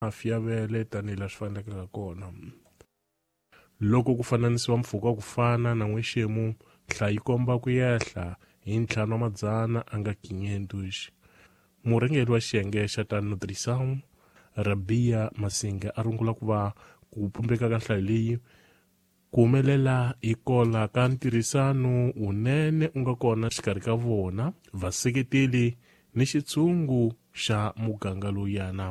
Mafi ya vele tanihi laha swi faneleke ha kona. Loko ku fananisiwa mpfhuka wa ku fana na n'wexemu, nhlayo yi komba ku yehla hi ntlhanu wa madzana a nga 500. Murhangeri wa xiyenge xa ta Nutrição, Rabia Masinga a rungula ku va ku pumbeka ka nhlayo leyi ku humelela hi kola ka ntirhisano wunene u nga kona xikarhi ka vona vaseketeli ni xitshungu xa muganga lowuyana.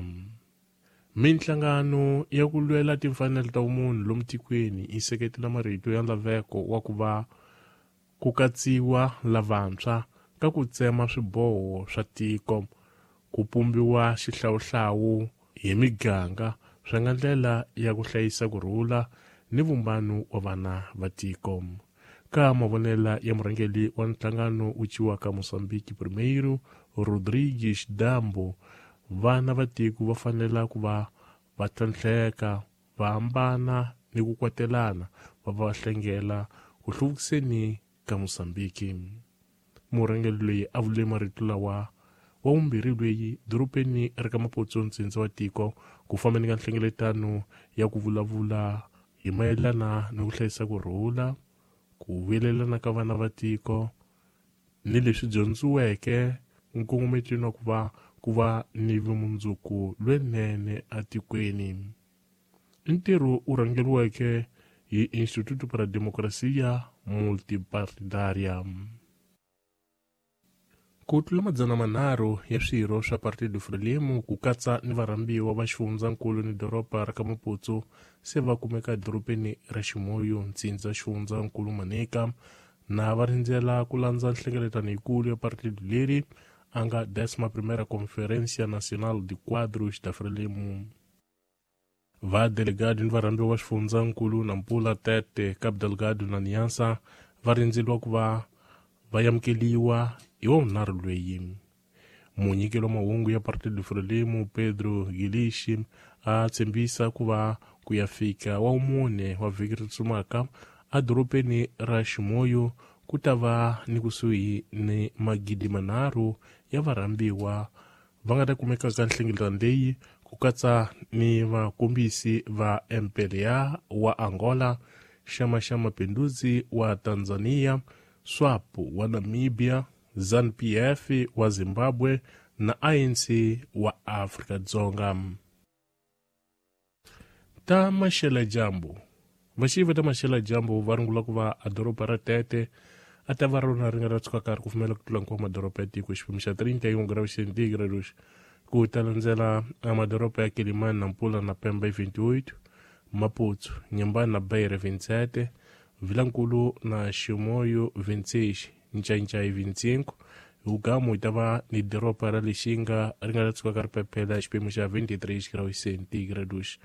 Minhlangano ya ku lwela timfanelo ta vumunhu lomu tikweni yi seketela marito ya laveko wa ku va ku katsiwa lavantshwa ka ku tsema swiboho swa tiko, ku pumbiwa xihlawuhlawu hi miganga swi nga ndlela ya ku hlayisa ku rhula ni vumbano wa vana va tiko. Ka mavonela ya murhangeri wa nhlangano wu ciwaka Mozambique Primeiro, Rodrigues Dambo, vana va tiko va fanela ku va va tlhantlheka, va hambana ni ku kwatelana, va va hlengela ku hluvukiseni ka Mozambique. Murhangeri loyi a vule marito lawa wa vumbirhi lweyi dorobeni ra ka Maputo ntsindza wa tiko ku fambeni ka nhlengeletano ya ku vulavula hi mayelana ni ku hlayisa ku rhula, ku vuyelelana ka vana va tiko ni leswi dyondziweke nkongometweni wa ku va ku va ni vumundzuku lwenene etikweni. I ntirho wu rhangeriweke hi Instituto para Democracia Multipartidária. Ku tlula madzana manharhu ya swirho swa Partido Frelimo ku katsa ni varhambiwa va xifundzankulu ni doroba ra ka Maputo se va kumeka edorobeni ra Chimoio, ntsindza xifundzankulu Manica, na va rindzela ku landza nhlengeletano yikulu ya partido leri a nga Décima Primeira Conferência Nacional de Quadros da Frelimo. Va delegado ni varhambiwa va xifundzankulu Nampula, Tete, Cabo Delgado na Niassa va rindzeliwa ku va va amukeliwa hi wavunharhu lweyi. Munyikeli wa mahungu ya Partido Frelimo Pedro Gilixi a tshembisa ku va ku ya fika wa mune wa vhiki ri tsumaka edorobeni ra Chimoio ku ta va ni kusuhi ni magidi manharhu ya varhambiwa va nga ta kumeka ka nhlengeletano leyi ku katsa ni vakombisi va MPLA wa Angola, Chama xa Mapinduzi wa Tanzania, SWAPO wa Namibia, ZANU-PF wa Zimbabwe na ANC wa Afrika-Dzonga. Ta maxela dyambu. Vaxivi ta maxela dyambu va rungula ku va a doroba ra Tete a ta va rona ri nga ra tshuka karhi ku fumela ku tlula nkuwa madoroba ya tiko xiphemu xa 31 graus centigrados ku ta landzela a madoroba ya Quelimane Nampula na Pemba hi 28, Maputo, Inhambane na Beira 27, Vilankulu na Chimoio 26, Ncancai 25, Hugamu yi ta va ni doroba ra Lixinga ri nga ta tshuka ka ri phephela xiphemu xa 23 graus centigrados.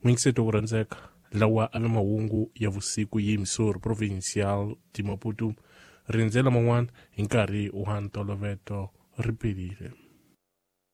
Mwingiseto ku rhandzeka lawa a na mahungu ya vusiku yi Missouri Provincial de Maputo rindzela man'wana hi nkarhi wa ntoloveto ri pelile.